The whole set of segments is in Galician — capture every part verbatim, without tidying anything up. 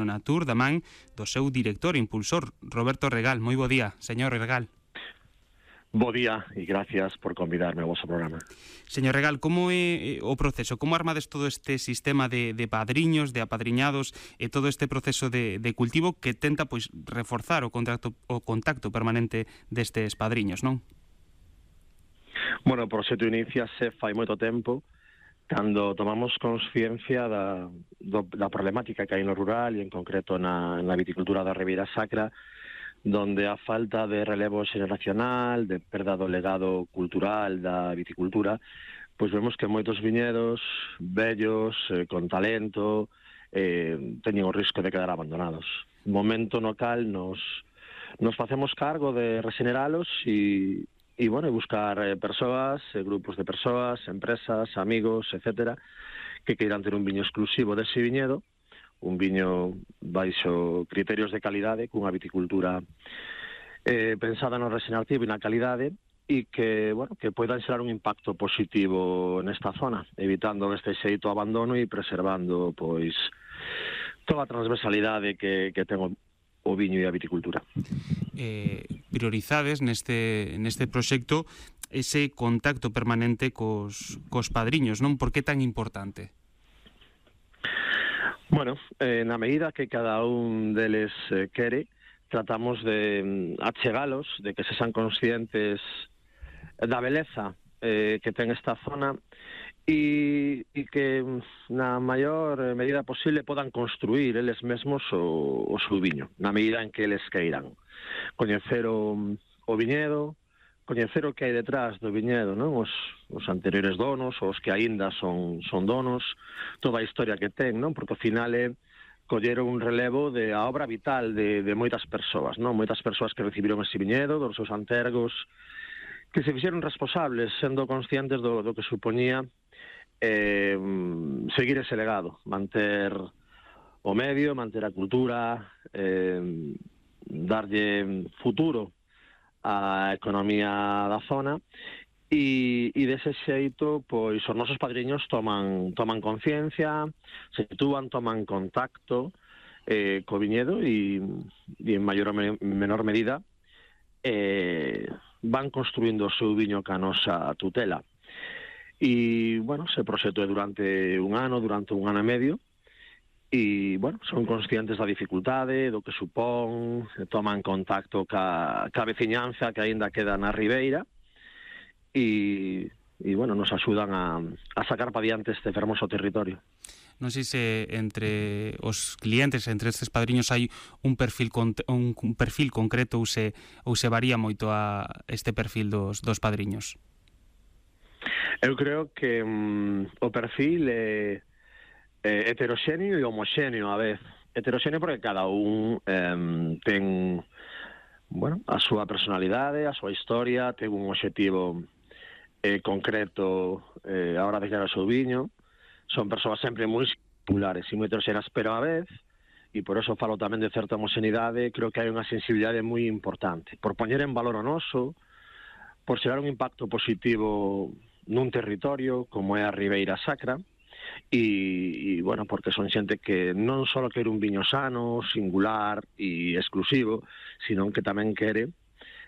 Natur da man do seu director e impulsor, Roberto Regal. Moi bo día, señor Regal. Bo día e gracias por convidarme ao vosso programa. Señor Regal, como é o proceso? Como armades todo este sistema de, de padriños, de apadriñados e todo este proceso de, de cultivo que tenta pois reforzar o contacto, o contacto permanente destes padriños, non? Bueno, o proxecto iniciase fai moito tempo cando tomamos consciencia da, do, da problemática que hai no rural e en concreto na, na viticultura da Ribeira Sacra, donde a falta de relevo xeneracional, de perda do legado cultural da viticultura, pois vemos que moitos viñedos vellos, eh, con talento, eh, teñen o risco de quedar abandonados. Momento no cal nos, nos facemos cargo de regeneralos e E, bueno, buscar eh, persoas, eh, grupos de persoas, empresas, amigos, etcétera, que queiran ter un viño exclusivo dese viñedo, un viño baixo criterios de calidade, cunha viticultura eh, pensada no regenerativo e na calidade, e que, bueno, que poidan xerar un impacto positivo nesta zona, evitando este xeito abandono e preservando, pois, toda a transversalidade que, que ten o o viño e a viticultura. Eh, priorizades neste, neste proxecto ese contacto permanente cos, cos padriños, non? Por que tan importante? Bueno, eh, na medida que cada un deles eh, quere, tratamos de mm, achegalos, de que se sean conscientes da beleza eh, que ten esta zona e, e que na maior medida posible podan construir eles mesmos o, o seu viño, na medida en que eles queiran. Coñecer o, o viñedo, coñecer o que hai detrás do viñedo, non? Os, os anteriores donos, os que aínda son, son donos, toda a historia que ten, non? Porque ao final é coller un relevo de a obra vital de, de moitas persoas, non? Moitas persoas que recibiron ese viñedo, dos seus antergos, que se fixeron responsables, sendo conscientes do, do que supoñía eh, seguir ese legado, manter o medio, manter a cultura, eh, darlle futuro á economía da zona e, e dese xeito, pois, os nosos padriños toman, toman conciencia, se sitúan, toman contacto eh, co viñedo e, e en maior ou menor medida eh, van construindo o seu viño ca nosa tutela. E, bueno, ese proxecto é durante un ano, durante un ano e medio, e, bueno, son conscientes da dificultade, do que supón, toman contacto ca, ca veciñanza que aínda queda na Ribeira, e, e bueno, nos axudan a, a sacar pa diante este fermoso territorio. Non sei se entre os clientes, entre estes padriños, hai un perfil un, un perfil concreto ou se, ou se varía moito a este perfil dos, dos padriños. Eu creo que um, o perfil é, é heteroxéneo e homoxéneo a vez. Heteroxéneo porque cada un um, ten, bueno, a súa personalidade, a súa historia, ten un obxectivo eh, concreto eh, a hora de crear o seu viño. Son persoas sempre moi singulares e moi heteroxéneas, pero a vez, e por eso falo tamén de certa homoxeneidade, creo que hai unha sensibilidade moi importante. Por poñer en valor o noso, por xerar un impacto positivo nun territorio como é a Ribeira Sacra, e, e bueno, porque son xente que non só quere un viño sano, singular e exclusivo, sino que tamén quere,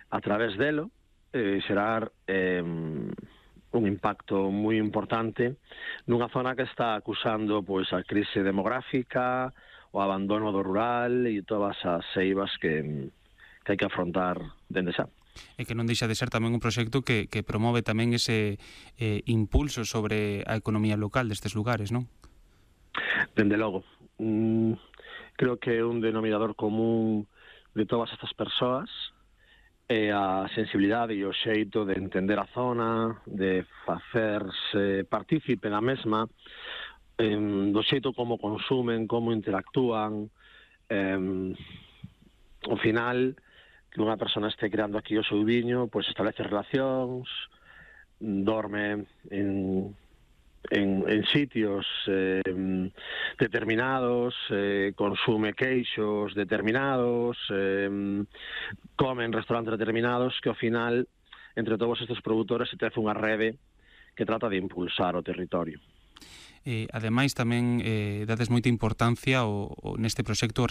a través delo, eh, xerar eh, un impacto moi importante nunha zona que está acusando pois a crise demográfica, o abandono do rural e todas as seivas que, que hai que afrontar dende xa. E que non deixa de ser tamén un proxecto que, que promove tamén ese eh, impulso sobre a economía local destes lugares, non? Dende logo. Mm, creo que é un denominador común de todas estas persoas é a sensibilidade e o xeito de entender a zona, de facerse partícipe da mesma, eh, do xeito como consumen, como interactúan. Eh, ao final, que unha persona este creando aquí o seu viño, pois establece relacións, dorme en, en, en sitios eh, determinados, eh, consume queixos determinados, eh, come en restaurantes determinados, que ao final, entre todos estes produtores, se tece unha rede que trata de impulsar o territorio. Eh, ademais, tamén eh, dades moita importancia o, o neste proxecto